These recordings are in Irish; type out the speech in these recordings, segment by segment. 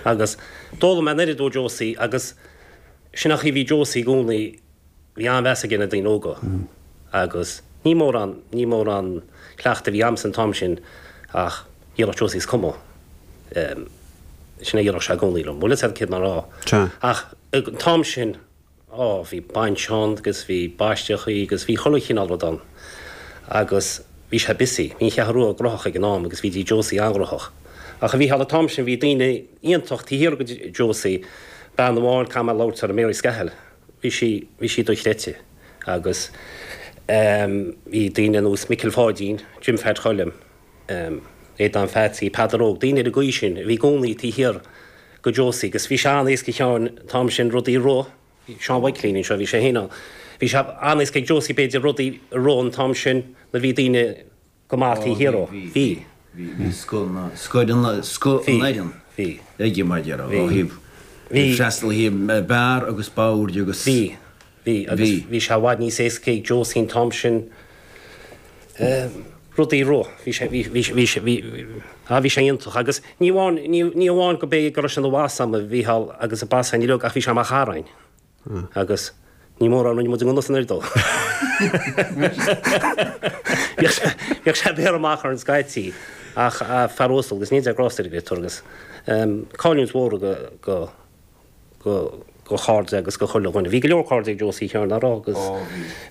Agus d'fhoghlaim mé an oiread ó Josie agus sin an chaoi a bhí Josie i gcónaí, bhí an-mheas aige ar na daoine óga agus ní mórán, ní mórán cleachtaidh a bhí a'msa an t-am sin ach dhéarfadh Josie is cuma. Sin a dhéarfadh sé i gcónaí liom. Bhfuil fhios a'd céard mé a rá. Ach an t-am sin, Á, bhí bainse ann agus bhí baisteachaí agus bhí chuile chineál rud ann. Agus bhí sé busy. Bhí an Cheathrú Rua gnóthach ag an am agus bhí Josie an-ghnóthach. Ach a Mhícheáil, an t-am sin bhí daoine iontach taobh thiar de Josie, bean amháin, caithfidh mé labhairt uirthi, Mary Scahill, bhí sí, bhí sí dochreidte. Agus ehm bhí daoine ar nós Micil Pháidín, Jim Pheaid Choilm, ehm Aodán Pheatsaí, Peadar Óg, daoine ar an gcaoi sin a bhí i gcónaí taobh thiar go Josie agus bhí sé an-éasca a Sheáin an t-am sin rudaí a rith, bhí Seán Mhaidhcilín anseo, bhí sé féin ann, bhí sé an-éasca ag Josie b'fhéidir rudaí a rith an t-am sin nuair bhí daoine go maith taobh thiar dhó. Bhí. Bhí, bhí scoth na, scoth an, scoth an fhoireann Bhí. aige mar a déarfá, ó thaobh, Bhí. freastal ó thaobh beár agus boird agus. Bhí. Bhí, agus bhí sé i bhfad níos éasca ag Josie an t-am sin rudaí a rith. Bhí sé, bhí, bhí, bhí sé, bhí, ah, bhí sé iontach. Agus ní amháin, ní, ní amháin go b'é go raibh sé ina bhoss a'm, a Mhícheál, agus a boss againn uilig, ach bhí sé mar chara a'inn. Agus ní mórán a rinne muid i ngan fhios an oiread dó. Bhíodh sé, bhíodh sé ag béarra amach orainn scaití, ach fear uasal agus níl de ghrásta ar an gcréatúr agus cailliúint mhór go, go, go go chairde agus go chuile dhuine. Bhí go leor cairde ag Josie a Sheáin, nach raibh agus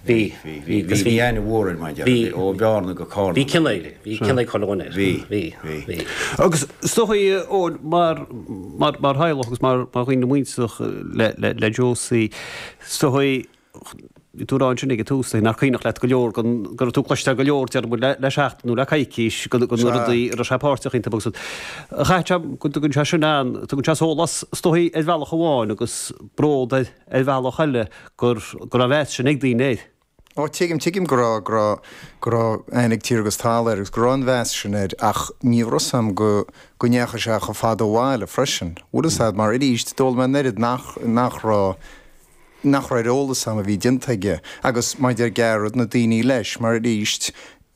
bhí, bhí, agus bhí aithne mhór air mar a déarfá, ó Bhearna go Carna. Bhí cion air, bhí cion ag chuile dhuine air. Bhí, bhí, bhí. Agus is dócha, Eoin, mar, mar, mar theaghlach agus mar, mar dhaoine muinteartha le, le, le Josie, is dócha, Bhí tú ag rá ansin ag an tús, nach cuimhneach leat go leor den, go raibh tú ag cloisteáil go leor, déarfaidh muid, le seachtain nó le coicís, de na rudaí a raibh sé páirteach iontu agus chaith sé, go dtugann sé sin an, tugann sé sólás is dóigh ar bhealach amháin agus bród ar ar bhealach eile gur, go raibh an mheas sin ag daoine air. Ó, tuigim, tuigim go raibh, go raibh, go raibh aithne ag tír agus talamh air agus go raibh an mheas sin air ach ní raibh fhios a'm go, go ndeachaigh sé chomh fada ó bhaile freisin. Bhfuil fhios a'd, mar arís, d'fhoghlaim mé an oiread nach, nach raibh, nach raibh ar eolas a'm a bhí déanta aige agus mar a deir Gearóid, na daoine leis, mar arís,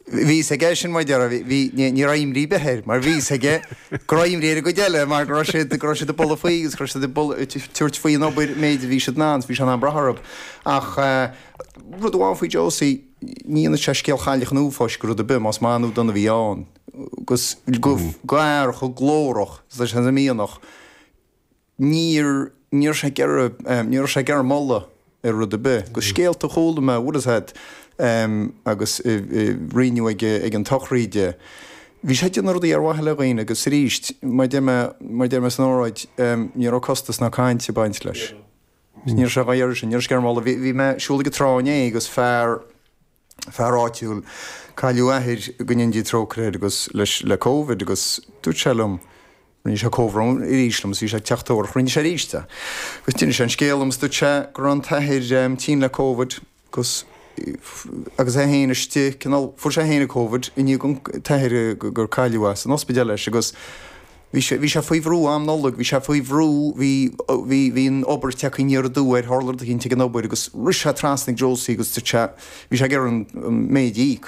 bhí fhios aige sin mar a déarfá, bhí, ní, ní raibh imní ar bith air, mar bhí fhios aige go raibh imní ar an gcuid eile mar go raibh siad, go raibh siad ag bualadh faoi agus go raibh siad ag bualadh, ag tabhairt faoi an obair méid a bhí siad in ann, bhí sé in ann brath orthu. Ach rud amháin faoi Josie, ní dhéanfadh sé scéal Chailleach an Uafáis go rud ar bith, más maith nó dona a bhí ann, agus go, go fhear chomh glórach is leis an mianach, Níor, ní raibh sé ag iarraidh, ní raibh sé ag iarraidh moladh ar rud ar bith. Agus scéalta a chuala mé, bhfuil fhios a'd, agus rinneadh ag, ag an tsochraid. Bhí sé ag déanamh rudaí ar mhaithe le dhaoine agus arís, mar a deir mé, mar a deir mé san óráid, ní raibh costas ná caint ag baint leis. Ní raibh sé dhá iarraidh sin, ní raibh sé ag iarraidh moladh. Bhí, bhí mé ag siúl ag an trá inné agus fear, fear áitiúil, cailleadh a athair, go ndéana Dia trócaire air agus leis, le Covid agus dúirt sé liom, rinne sé comhbhrón arís liom is bhí sé ag teacht tabharach, rinne sé arís é. Agus d'inis sé an scéal dom is dúirt sé go raibh an t-athair tinn le Covid agus agus é féin istigh, cineál, fuair sé féin an Covid i ndiaidh an t-athair gur cailleadh é san ospidéal leis agus Bhí sé, bhí sé faoi bhrú am Nollag, bhí sé faoi bhrú, bhí, bhí, bhí an obair tagtha aniar aduaidh air, tharla rud eicínt ag an obair agus rith sé trasna ag Josie agus dúirt sé, bhí sé ag iarraidh an, an méid a íoc,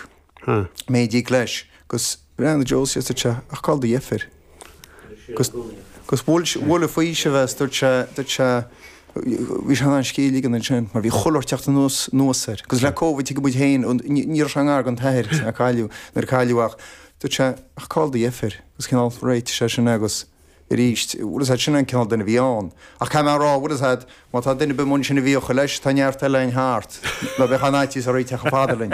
méid a íoc leis agus bhreathnaigh Josie agus dúirt sé, ach cá bhfuil do dheirfiúr? Agus, agus bhuail, bhuail an faoiseamh é is dúirt sé, dúirt sé, bhí sé in ann scíth a ligean ansin mar bhí chuile shórt teacht anuas, anuas air. Agus le Covid tuigeann muid féin, ní, ní raibh sé i ngar don t-athair a cailleadh, nuair a cailleadh ach dúirt sé, ach cá bhfuil do dheirfiúr? Agus cineál réitigh sé sin agus arís, bhfuil fhios a'd, sin an cineál duine a bhí ann. Ach caithfidh mé a rá, bhfuil fhios a'd, má tá duine ar bith amuigh ansin a bhíodh leis, tá neart eile againn thart, ná bheadh aon fhaitíos oraibh teacht chomh fada linn.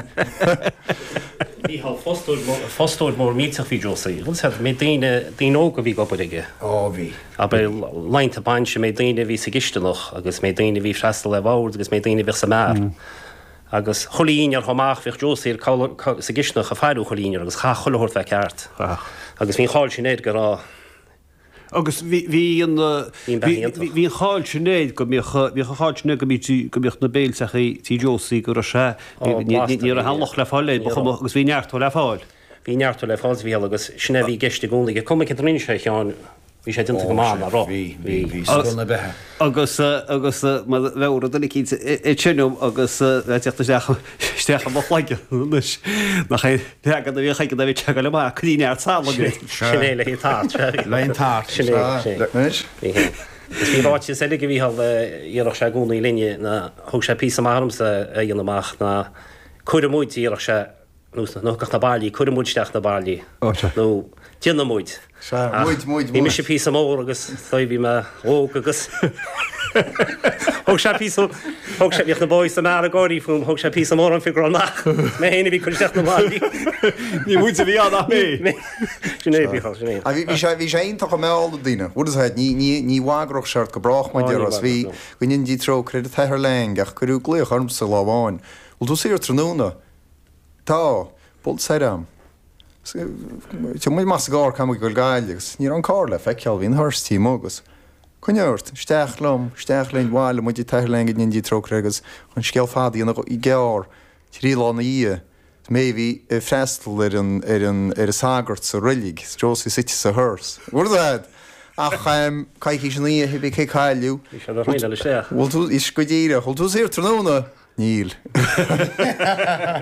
Mícheál, fostóir mór, fostóir mór millteach bhí Josie. Bhfuil fhios a'd, méid daoine, daoine óga a bhí ag obair aige. Ó, bhí. Abair, laethanta bainse, méid daoine a bhí sa gcisteanach agus méid daoine a bhí ag freastal ar bhord agus méid daoine a bhíodh sa mbeár. Agus chuile dhinnéar chomh maith, bhíodh Josie ar sa gcisteanach ag faire chuile dhinnéar agus chaithfeadh chuile shórt bheith ceart. Agus bhí an cháil sin air go raibh. Agus bhí, bhí an, Bhí an beatha iontach. bhí an cháil sin air go mbíodh, bhíodh an cháil sin air go mbíodh, go mbíodh na béilteachaí tí Josie go raibh sé, Ó, blasta ní raibh aon locht le fáil air, ba chuma, agus bhí neart le fáil. Bhí neart le fáil a Mhícheáil agus sin é a bhí i gceist i gcónaí. Cuma céard a rinne sé a Sheáin, Bhí sé déanta go maith, nach raibh? Bhí, bhí, bhí scoth na beatha. Agus, agus mar bheadh rud eicínt ag seinm agus bheith ag teacht isteach. isteach i mo chloigeann anois nach é leagan a bhíodh aige nuair a bhí sé ag dul amach, cuir neart salainn air. Sin é le haghaidh tart, sea. Le haghaidh an tart. Sin é, sin é. Anois. Bhí féin. Is bhí ráiteas eile ag Mícheál a dhéarfadh sé i gcónaí linne ná thóg sé píosa maith ormsa a dhéanamh amach ná cuireadh muid, a dhéarfadh sé, nó nó thiocfadh na bairillí, cuireadh muid isteach na bairillí nó déanadh muid. Sea, muid, muid, Bhí mise píosa mór agus dóigh bhí mé óg agus thóg sé píosa, thóg sé, bhíodh na boys sa mbeár ag gáirí fúm, thóg sé píosa mór orm fiú nach mé féin a bhí ag cur isteach na mbairillí. Ní muid a bhí ann ach mé. Sin é, Mícheál, sin é. Ach bhí, bhí sé, bhí sé iontach i mbeál na daoine. Bhfuil a fhios agat, ní, ní, ní bhagródh sé ort go brách mar déarfá. Is bhí, go ndéana Dia trócaire ar an tAthair Lang ach cuireadh glaoch ormsa lá amháin. Bhfuil tú saor tráthnóna? Tá. Buail soir a'm. Téigh muid amach sa gcarr, caithfidh muid dul go Gaillimh agus ní raibh an carr le feiceáil, bhí an hearse taobh amuigh agus coinnigh ort, isteach liom, isteach linn, bhailigh muid an tAthair Lang go ndéana Dia trócaire air agus chun scéal fada a dhéanamh gearr, trí lá ina dhiaidh, is mé a bhí ag freastal ar an, ar an, ar an sagart sa roilig, is Josie suite sa hearse. Bhfuil a fhios a'd? Ach coicís ina dhiaidh, bhí cé cailleadh. Bhí sé ar thraenáil isteach. Bhfuil tú, is go díreach, bhfuil tú saor tráthnóna? Níl.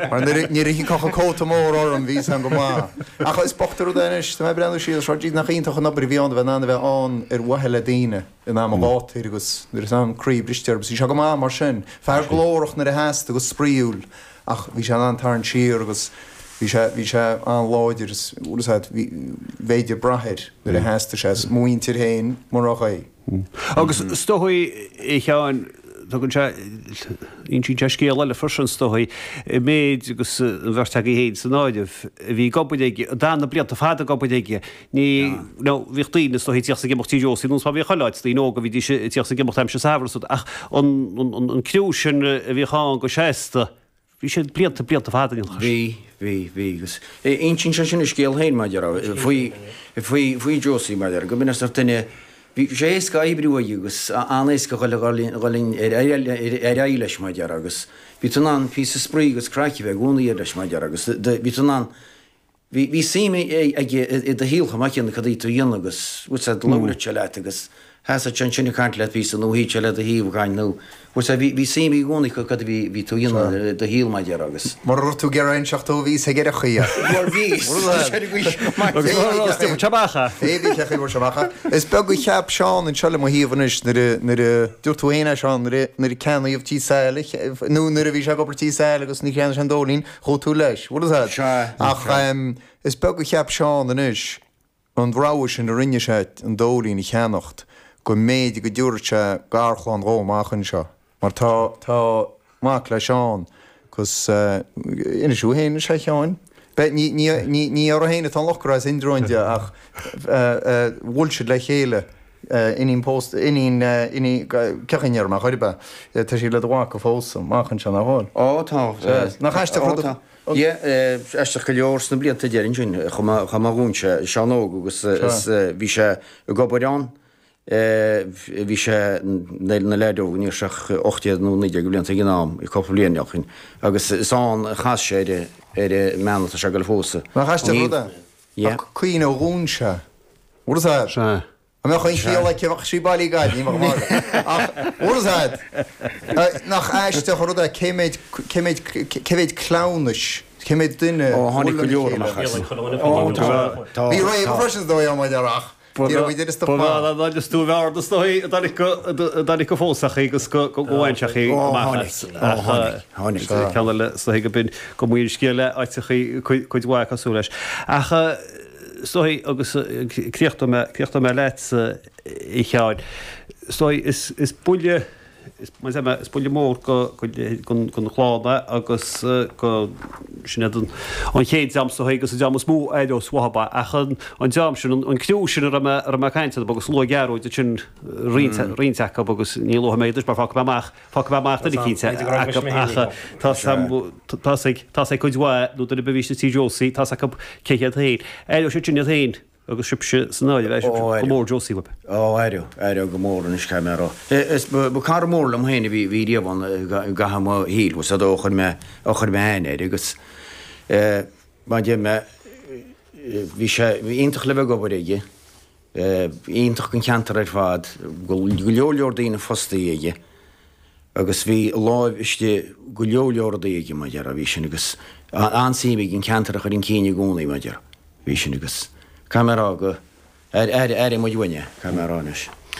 Mar nuair a thiocfadh an cóta mór orm bhí a fhios a'm go maith. Ach is bocht an rud é anois, tá mé ag breathnú siar, seo nach iontach an obair a bhí ann a bheith in ann a bheith ann ar mhaithe le daoine in am an ghátair agus nuair atá an croí briste orthu. Bhí sé go maith mar sin. Fear glórach nuair a theastaigh agus spraíúil ach bhí sé in ann tarraingt siar agus bhí sé, bhí sé an-láidir is, bhfuil a fhios a'd, bhí, b'fhéidir brath air nuair a theastaigh sé. Is mo mhuintir féin murach é. Agus is dóigh, a Sheáin, tugann sé, insíonn sé scéal eile freisin, is dóigh, an méid agus an bheirt agaibh féin san áireamh, a bhí ag obair aige, a d'fhan na blianta fada ag obair aige, ní, nó bhíodh daoine, is dóigh, ag tíocht is ag imeacht tí Josie, nós mar a bhíodh chuile áit, daoine óga a bhídís ag tíocht is ag imeacht aimsir saibhir is rud, ach an, an, an criú sin a bhíodh ann go seasta, Bhí siad blianta, blianta fada ina chois. Bhí, bhí, bhí agus insíonn sé sin a scéal féin mar a déarfá, faoi, faoi, faoi Josie mar a déarfá, go mb'in sórt duine, bhí sé éasca oibriú aige agus an-éasca dhul, dhul, dhul in, ar, ar, ar aghaidh leis mar a déarfá agus bhí tú in ann píosa spraoi agus craic a bheith i gcónaí air leis mar a déarfá agus bhí tú in ann, Bhí, bhí suim aige i do shaol chomh maith céanna, cad a bhí tú a dhéanamh agus, bhfuil 's a'd, labhradh sé leat agus sheasadh sé ansin ag caint leat píosa nó shuíodh sé le do thaobh ag caint nó, bhfuil 's a'd, bhí, bhí suim aige i gcónaí cad a bhí, bhí tú a dhéanamh i do shaol mar a déarfá agus. Mura raibh tú ag iarraidh inseacht dó bhí 'fhios aige ar an chaoi. Mar bhí, ar an gcaoi sin go maith. Agus mura raibh, stiúrfadh sé amach é. Bhí, bhí sé chaoi bhfuair sé amach é. Is beag a cheap Seán anseo le mo thaobh anois nuair a, nuair a, dúirt tú féin é Seán, nuair a, nuair a ceannaíodh Tí Sáile, nó nuair a bhí sé ag obair Tí Sáile agus ní cheannaigh sé an Dóilín, Chuaigh tú leis, bhfuil a fhios a'd. Ach is beag a cheap Seán anois, an rogha sin a rinne sé an Dóilín a cheannacht, go mb'fhéidir go dtabharfadh sé garchlann dhó amach anseo. Mar tá, tá mac le Seán agus inis thú féin anois a Sheáin. Beidh, ní, ní, ní, ní orthu féin atá an locht go raibh Indreabhán de ach bhuail siad le chéile. Iníon pósta, iníon, iníon, cén chaoi a ndéarfaidh mé chor ar bith, tá sí le do mhac a phósadh amach anseo, nach bhfuil? Ó, tá. Sea. Nach aisteach rud a. Yeah, aisteach go leor sna blianta deiridh ansin, chomh maith, chomh maith dhúinn sé, Seán Óg agus is bhí sé ag obair ann, bhí sé, na leaid óg, ní raibh sé ach 18 nó 19 de bhlianta ag an am, cúpla bliain ó shin, agus is ann a chas sé ar, ar an mbean atá sé ag dul a phósadh. Nach aisteach rud é? Yeah. Ach cuimhne ó dhún sé. Bhfuil a fhios a'd? Sea. An mbeadh aon chiall aici, bheadh sí bailí gad, ní bheadh magadh. Ach, bhfuil a fhios a'd, nach aisteach an rud é cé méid, cé méid, cé mhéid cleamhnais, cé méid duine Ó, tháinig go leor amach as. Ó, tá, tá. Bhí réabadh freisin is dóigh ann, mar ach ní raibh muid ar an stop maith. Ba bhean is tú a bhearna is dóigh a dtáinig go, a dtáinig go phósfadh í agus go, go bhain sé í amach as. Ó, tháinig, tháinig, tháinig. Ceann eile is dóigh go b'in go mbíonn scéal le áiteachaí cuid, cuid mhaith cosúil leis. Ach, Is dóigh, agus críochnóidh mé, críochnóidh mé leatsa, a Sheáin, is dóigh, is, is buille, is, mar a deir mé, is buille mór go, go, gon, gon chlann é agus go, sin iad an, an chéad dream is dóigh agus an dream is mó a aireos uathub é. Ach an, an dream sin, an, an criú sin a raibh mé, a raibh mé ag caint orthub agus luaigh Gearóid ansin roinnt, roinnt acub agus ní luafaidh mé iad anois mar fágfaidh mé amach Fágfaidh mé amach duine eicínt acu ach tá's ag, tá's ag cuid mhaith nó duine ar bith a bhí istigh tí Josie, tá's acu cé hiad féin. Aireoidh siad sin iad féin agus sibhse san áireamh, aireoidh sibhse go mór Josie uaibh. Ó, aireoidh, aireoidh go mór anois caithfidh mé a rá. Is ba cara mór liom féin a bhí, bhí riamh ann i gcaitheamh mo shaoil, bhfuil 's a'd ó chuir mé, ó chuir mé aithne air agus mar a deir mé, bhí sé, bhí iontach le bheith ag obair aige. Iontach don cheantar ar fad, go leor leor daoine fostaithe aige. Agus bhí a láimh istigh go leor leor rudaí aige, mar a déarfá, bhí sin agus an-suim aige an ceantar a chur chun cinn i gcónaí, mar a déarfá, bhí sin agus caithfidh mé a rá go, airigh muid uainn é, caithfidh mé a rá anois.